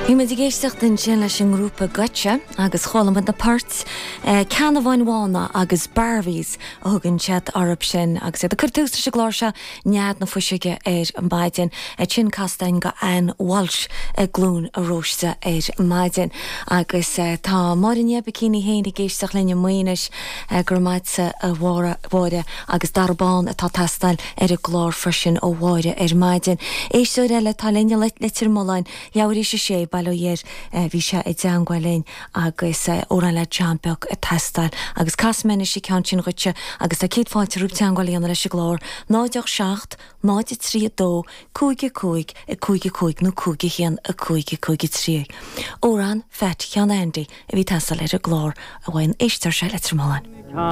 Bhí muid ag éisteacht ansin leis an ngrúpa Goitse agus chuala muid na poirt Ceannabháin Bhána agus Barbies a thugann siad orthu sin agus iad ag cur tús leis an gclár seo Nead na Fuiseoige ar maidin. Sin casta againn do Ann Walsh i gCluain Róiste ar maidin. Agus tá Máire Ní Oibicín í féin ag éisteacht linn i Maínis. Go raibh maith agatsa a Mháire agus Dara Bán atá ag teastáil ar an gclár freisin ó Mháire ar maidin. Éisteoir eile atá linn i Leitir Mealláin, leathuair théis a sé, bail ó Dhia air, bhí sé i dteangmháil linn agus amhrán le John Beag ag teastáil agus casfaidh mé anois an ceann sin dhuitse agus tá céad fáilte romhat teangmháil a dhéanamh leis an gclár, 0 8 7 0 3 2 5 5 5 5 nó 5 1 5 5 3. Amhrán Pheait Sheáin Aindí a bhí ag teastáil ar an gclár uaidh an éisteoir seo i Leitir Mealláin.